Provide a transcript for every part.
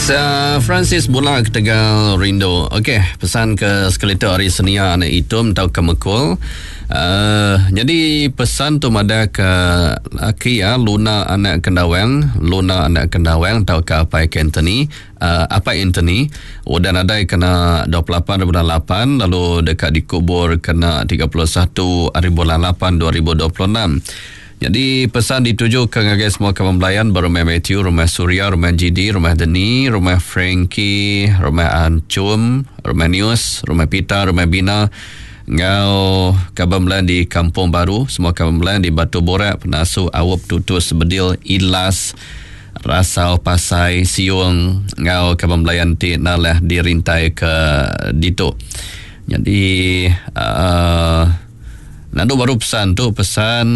Lisa Francis bula ketegal rindu. Okey, pesan ke sekali tu ari Senia anak Itum tauka Mekul. Uh, nyadi pesan tu madah ke laki ya Luna anak Kendawang, Luna anak Kendawang tauka apai Anthony, uh, apai Anthony udah nadai kena 28 bulan 8 lalu deka dikubur kena 31 hari bulan 8 2026. Nyadi pesan dituju ke ngagai semua kaban belayan ba Rumah Matthew, Rumah Surya, Rumah GD, Rumah Deni, Rumah Frankie, Rumah Anchum, Rumah Nius, Rumah Peter, Rumah Bina enggau kaban belayan di Kampung Baru, semua kaban belayan di Batu Borak, Penasu, Aup, Tutus, Bedil, Ilas, Rasau, Pasai, Siung enggau kaban belayan ti nalah dirintai ke ditu. Nyadi uhh Nandu baru pesan tu pesan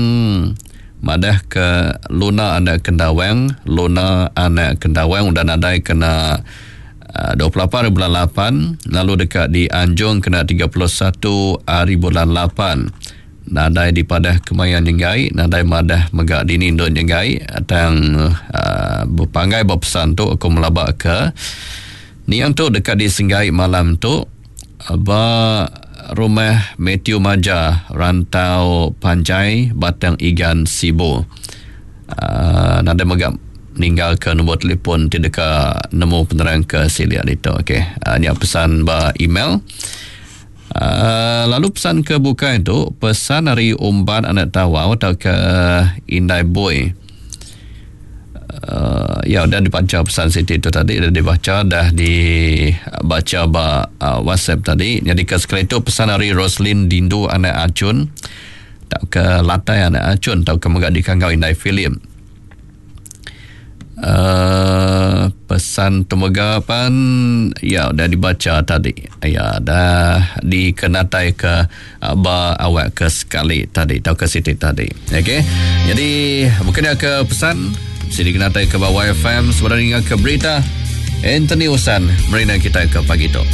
madah ke Luna anak Kendawang, Luna anak Kendawang udah nadai kena 28 hari bulan lapan lalu deka dianjung kena 31 hari bulan lapan. Nadai dipadah kemaya nyenggai, nadai madah mega dini endur nyenggai tang uhh bepanggai ba pesan tu aku melaba ke niang tu deka disenggai malam tu. Ba Rumah Mathew Maja, Rantau Panjai, Batang Igan, Sibu. Aaa nadai mega ninggalka nombor telefon ti deka nemu penerang ke silik ditu. Okey, nya pesan ba email. Aaa lalu pesan ke bukai tu, pesan ari Umbat anak Tawau tauka Indai Bui. Uh, ya udah dibaca pesan Siti tu tadi dah dibaca dah dibaca ba uh, WhatsApp tadi. Jadi ke sekali tu pesan ari Roslin Dindu anak Acun tak ke Latai anak Acun tau ke mega dikanggau Indai Philip. Uh, pesan tu mega pan ya udah dibaca tadi. Ya dah dikenatai ke Ba awak ke sekali tadi tauka siti tadi. Okey. Jadi bukan dia ke pesan sini kena tai ke ba YFM sebenarnya ke berita Anthony Usan merina kita ke pagi tu.